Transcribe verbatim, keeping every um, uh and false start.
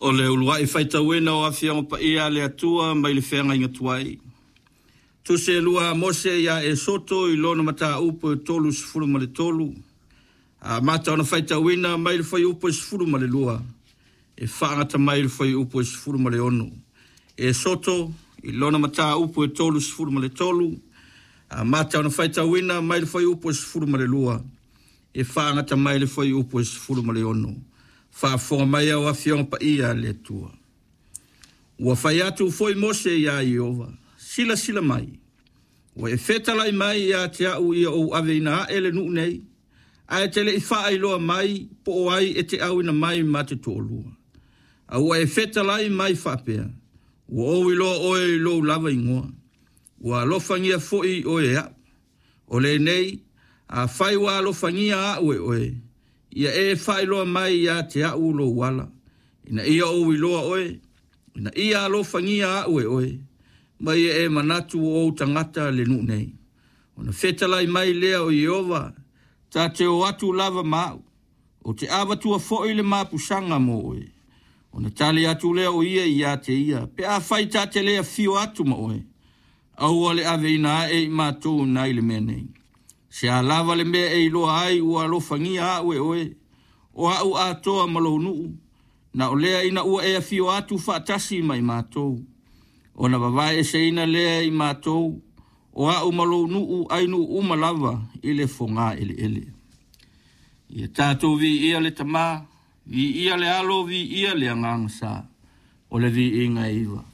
O le uluai faitauina o Afioga Paia a le Atua mai le Feagaiga Tuai. Tusi e lua a Mose ia Esoto i lona mataupu e tolusefulu ma le tolu. Amata ona faitauina mai le fuaiupu e sefulu ma le lua e faagata mai le fuaiupu e sefulu ma le ono. Esoto i lona mataupu e tolusefulu ma le tolu. Amata ona faitauina mai le fuaiupu e sefulu ma le lua e faagata mai le fuaiupu e sefulu ma le ono. Faafofoga mai au Afioga Paia a le Atua. Ua fai atu foi Mose iā Ieova, silasila mai, ua e fetalai mai ia te au ia ou aveina ae le nuu nei, ae te le i faailoa mai po o ai e te auina mai ma te toalua. A ua e fetalai mai faapea, ua ou iloa oe i lou lava igoa, ua alofagia foi oe e au. O lenei, afai ua alofagia au e oe, ia e faailoa mai ia te au lou ala, ina ia ou iloa oe, ina ia alofagia au e oe, ma ia e manatu o ou tagata le nuu nei. Ona fetalai mai lea o Ieova, ta te o atu lava ma au, o te avatua foi le mapusaga mo oe. Ona tali atu lea o ia ia te ia, pe afai ta te le afio atu ma oe, aua le aveina ae i matou nai le mea nei. Se a lava le mea e iloa ai ua alofagia au e oe, o au atoa ma lou nuu, na o lea ina ua e afio atu faatasi ma i matou. Ona vavae eseina lea i matou, o au ma lou nuu ai nuu uma lava i le foga eleele. Ia tatou viia le Tama, viia le Alo, viia le Agaga Sa, o le viiga e iva.